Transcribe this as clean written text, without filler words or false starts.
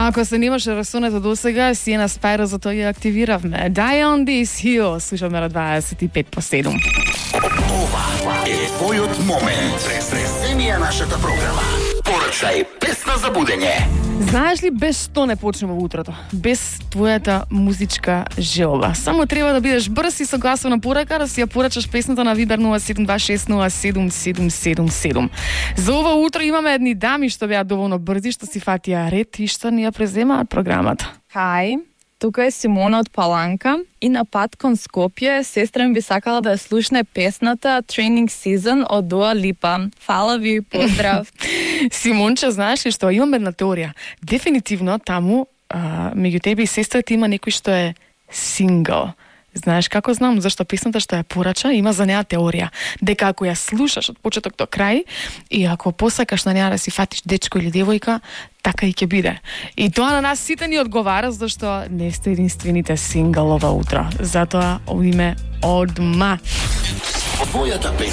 А ако се немаше расунето до сега, Сиена Спајро за тоа ја активиравме. Die on this hill, слушаме на 25:07. Ова е твојот момент. Преземија нашата програма. Порачај песна за будење. Знаеш ли, без што не почнува утрото? Без твојата музичка желба. Само треба да бидеш брз и согласна порака да си ја порачаш песната на Viber 0726077777. За ова утро имаме едни дами што беа доволно брзи, што си фатија ред и што ни ја преземаат програмата. Хај, тука е Симона од Паланка и на пат кон Скопје сестра ми би сакала да ја слушне песната Training Season од Дуа Липа. Фала ви, поздрав. Симонче, знаеш ли што? Имам една теорија. Дефинитивно таму, меѓу тебе и сестрата има некој што е сингл. Знаеш како знам? Зашто песната што ја порача има за неа теорија. Дека ако ја слушаш од почеток до крај и ако посакаш на неа да си фатиш дечко или девојка, така и ќе биде. И тоа на нас сите ни одговара, зашто не сте единствените сингл ова утро. Затоа овиме одма. Твојата песна.